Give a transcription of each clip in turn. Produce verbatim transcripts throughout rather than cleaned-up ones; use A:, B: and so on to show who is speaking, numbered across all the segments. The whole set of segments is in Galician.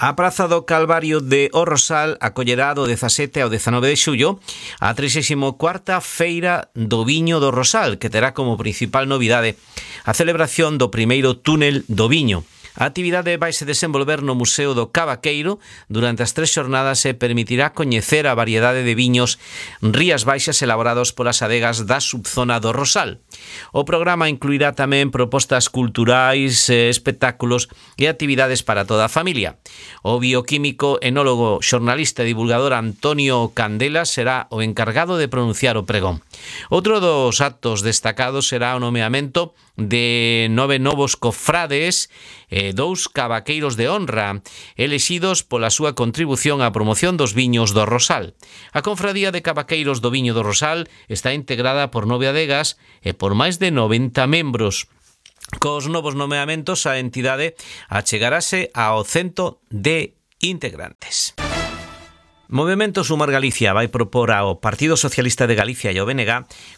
A: A Praza do Calvario de O Rosal acollerá do dezasete ao dezanove de xullo a trixésima cuarta Feira do Viño do Rosal, que terá como principal novidade a celebración do primeiro túnel do viño. A actividade vaise desenvolver no Museo do Cavaqueiro durante as tres xornadas e permitirá coñecer a variedade de viños Rías Baixas elaborados polas adegas da subzona do Rosal. O programa incluirá tamén propostas culturais, espectáculos e actividades para toda a familia. O bioquímico, enólogo, xornalista e divulgador Antonio Candela será o encargado de pronunciar o pregón. Outro dos actos destacados será o nomeamento de nove novos cofrades e dous cavaqueiros de honra elexidos pola súa contribución á promoción dos viños do Rosal. A Confradía de Cavaqueiros do Viño do Rosal está integrada por nove adegas e por máis de noventa membros. Cos novos nomeamentos, a entidade achegarase ao cento de integrantes. Movemento Sumar Galicia vai propor ao Partido Socialista de Galicia e ao B N G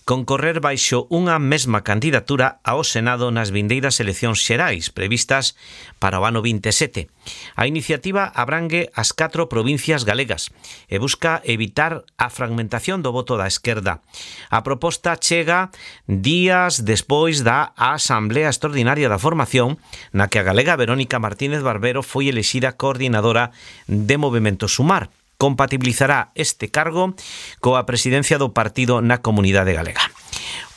A: concorrer baixo unha mesma candidatura ao Senado nas vindeiras eleccións xerais previstas para o ano vinte e sete. A iniciativa abrangue as catro provincias galegas e busca evitar a fragmentación do voto da esquerda. A proposta chega días despois da Asamblea Extraordinaria da Formación, na que a galega Verónica Martínez Barbero foi elexida coordinadora de Movemento Sumar. Compatibilizará este cargo coa presidencia do partido na comunidade galega.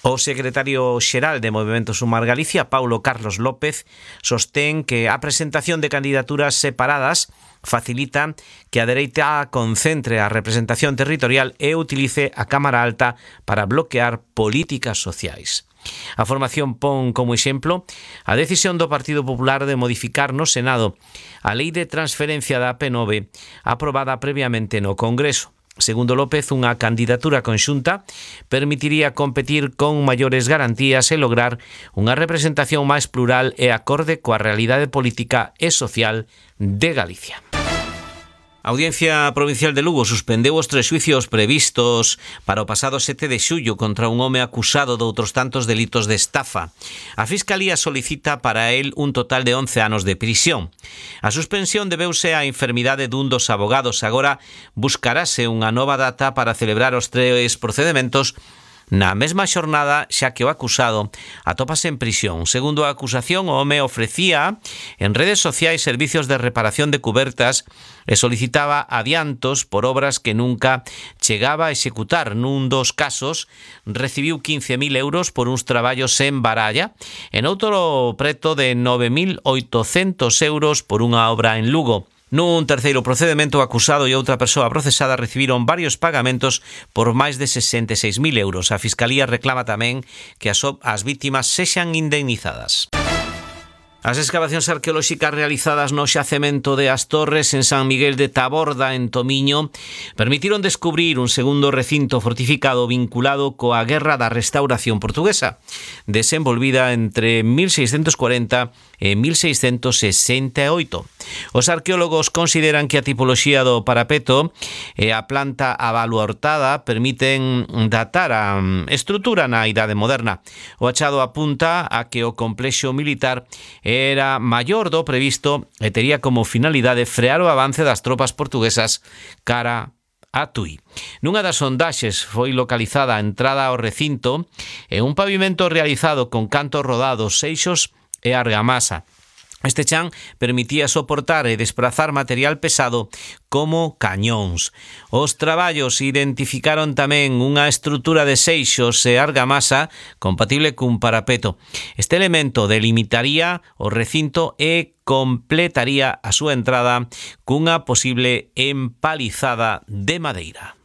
A: O secretario xeral de Movemento Sumar Galicia, Paulo Carlos López, sostén que a presentación de candidaturas separadas facilita que a dereita concentre a representación territorial e utilice a Cámara Alta para bloquear políticas sociais. A formación pon como exemplo a decisión do Partido Popular de modificar no Senado a Lei de Transferencia da P nove aprobada previamente no Congreso. Segundo López, unha candidatura conxunta permitiría competir con maiores garantías e lograr unha representación máis plural e acorde coa realidade política e social de Galicia. A Audiencia Provincial de Lugo suspendeu os tres xuicios previstos para o pasado sete de xullo contra un home acusado de outros tantos delitos de estafa. A Fiscalía solicita para el un total de once anos de prisión. A suspensión debeuse á enfermidade dun dos abogados. Agora buscarase unha nova data para celebrar os tres procedementos na mesma xornada, xa que o acusado atópase en prisión. Segundo a acusación, o home ofrecía en redes sociais servicios de reparación de cubertas e solicitaba adiantos por obras que nunca chegaba a executar. Nun dos casos, recibiu quince mil euros por uns traballos en Baralla, en outro preto de nove mil oitocentos euros por unha obra en Lugo. Nun terceiro procedemento, o acusado e outra persoa procesada recibiron varios pagamentos por máis de sesenta e seis mil euros. A Fiscalía reclama tamén que as, as vítimas sexan indemnizadas. As excavacións arqueolóxicas realizadas no xacemento de As Torres en San Miguel de Taborda, en Tomiño, permitiron descubrir un segundo recinto fortificado vinculado coa Guerra da Restauración Portuguesa, desenvolvida entre mil seiscentos cuarenta e mil seiscentos sesenta e oito. Os arqueólogos consideran que a tipoloxía do parapeto e a planta abaluartada permiten datar a estrutura na Idade Moderna. O achado apunta a que o complexo militar era maior do previsto e tería como finalidade frear o avance das tropas portuguesas cara a Tui. Nunha das sondaxes foi localizada a entrada ao recinto e un pavimento realizado con cantos rodados, seixos e argamasa. Este chan permitía soportar e desprazar material pesado como cañóns. Os traballos identificaron tamén unha estrutura de seixos e argamasa compatible cun parapeto. Este elemento delimitaría o recinto e completaría a súa entrada cunha posible empalizada de madeira.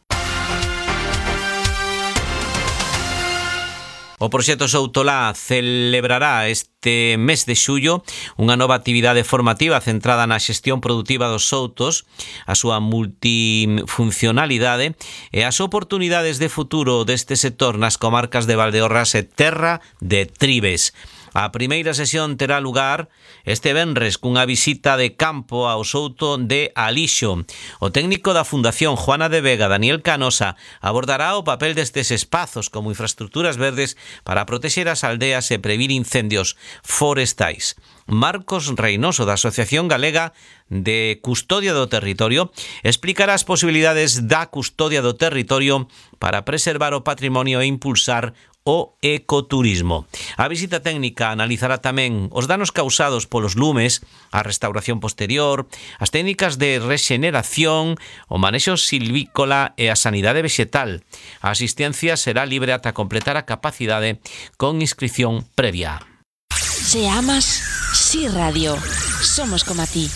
A: O proxecto Soutolá celebrará este mes de xullo unha nova actividade formativa centrada na xestión produtiva dos soutos, a súa multifuncionalidade e as oportunidades de futuro deste sector nas comarcas de Valdeorras e Terra de Tribes. A primeira sesión terá lugar este venres cunha visita de campo ao souto de Alixo. O técnico da Fundación Juana de Vega, Daniel Canosa, abordará o papel destes espazos como infraestructuras verdes para protexer as aldeas e previr incendios forestais. Marcos Reynoso, da Asociación Galega de Custodia do Territorio, explicará as posibilidades da custodia do territorio para preservar o patrimonio e impulsar o ecoturismo. A visita técnica analizará tamén os danos causados polos lumes, a restauración posterior, as técnicas de rexeneración, o manexo silvícola e a sanidade vexetal. A asistencia será libre ata completar a capacidade con inscripción previa.
B: Se amas, Sí Radio. Somos como a ti.